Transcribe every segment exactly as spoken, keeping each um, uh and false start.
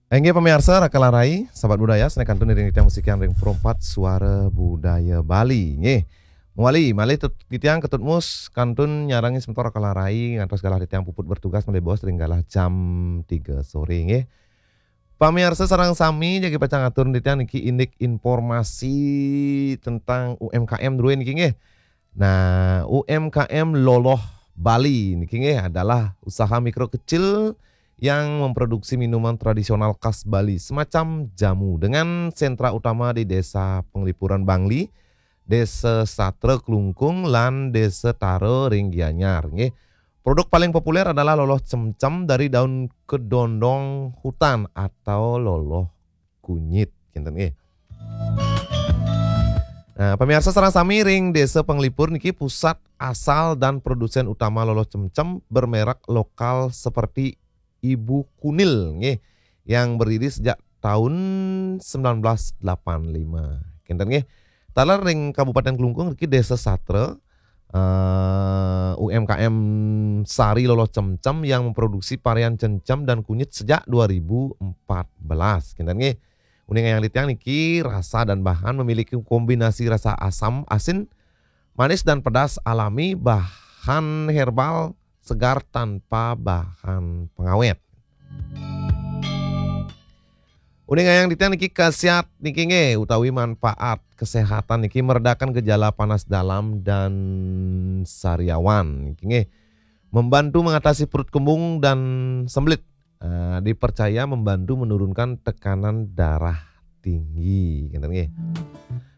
Inggih pamiarsa Raka Larai, sahabat budaya, sané kantun iring titiang musikian ring Perempat Suara Budaya Bali. Inggih. Mawali, malih tut-, titiang Ketut Mus kantun nyarengi semeton Raka Larai ngantos galah titiang puput bertugas malih bos ring galah jam tiga sore, inggih. Pamiarsa sareng sami, jagi pacang atur titiang niki indik informasi tentang U M K M drué niki, inggih. Nah, U M K M Loloh Bali niki, inggih, adalah usaha mikro kecil yang memproduksi minuman tradisional khas Bali, semacam jamu, dengan sentra utama di Desa Penglipuran Bangli, Desa Satra Klungkung, lan Desa Tara ring Gianyar, inggih. Produk paling populer adalah loloh cemcem dari daun kedondong hutan atau loloh kunyit, kinten, inggih. Nah, pamiarsa sareng sami, ring Desa Penglipur niki pusat asal dan produsen utama loloh cemcem bermerek lokal seperti Ibu Kunil, nggih, yang berdiri sejak tahun sembilan belas delapan lima. Kinten, nggih. Taler ring Kabupaten Klungkung niki Desa Satra, eh, U M K M Sari Loloh Cemcem yang memproduksi varian cemcem dan kunyit sejak dua ribu empat belas. Kinten, nggih. Uning ayang titiang niki, rasa dan bahan memiliki kombinasi rasa asam, asin, manis dan pedas alami, bahan herbal, segar tanpa bahan pengawet. Uning ayang titiang niki, khasiat niki, nggih, utawi manfaat kesehatan niki, meredakan gejala panas dalam dan sariawan niki, nggih. Membantu mengatasi perut kembung dan sembelit. Eh, dipercaya membantu menurunkan tekanan darah tinggi, kinten, nggih.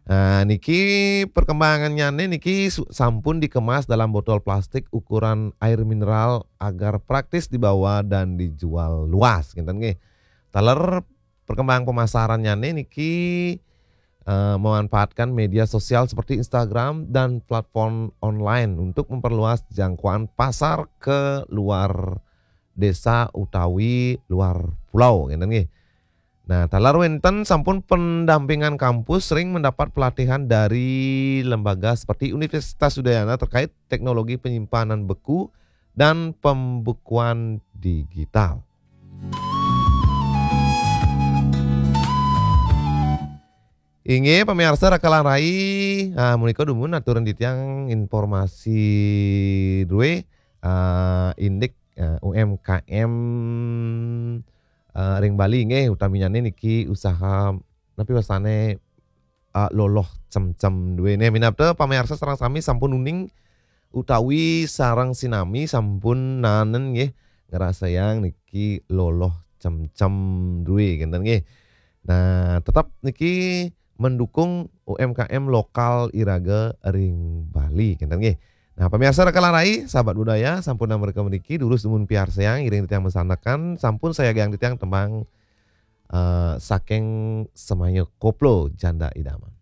Nah, niki perkembangannya niki su-, sampun dikemas dalam botol plastik ukuran air mineral agar praktis dibawa dan dijual luas, kinten, nggih. Taler perkembangan pemasarannya niki, eh, memanfaatkan media sosial seperti Instagram dan platform online untuk memperluas jangkauan pasar ke luar desa utawi luar pulau, kinten, nggih. Nah, taler wénten sampun pendampingan kampus, sering mendapat pelatihan dari lembaga seperti Universitas Udayana terkait teknologi penyimpanan beku dan pembukuan digital. Inggih, pamiarsa Raka Larai, ah, menika dumun aturan titiang informasi drué, ah, indik, ah, U M K M, ah, ring Bali, nggih, utaminya niki usaha napi wastané, ah, loloh cemcem drué. Nah, minab pamiarsa sareng sami sampun uning utawi sareng sinami sampun naenin, nggih, ngrasayang niki loloh cemcem drué, kinten, nggih. Nah, tetep niki mendukung U M K M lokal iraga ring Bali, kinten, nggih. Nah, pamiarsa Raka Larai, sahabat budaya, sampun namrika mriki, durus dumun piarsayang, iring titiang masandekan, sampun sayagiang titiang tembang, eh, saking Semaya Koplo Janda Idaman.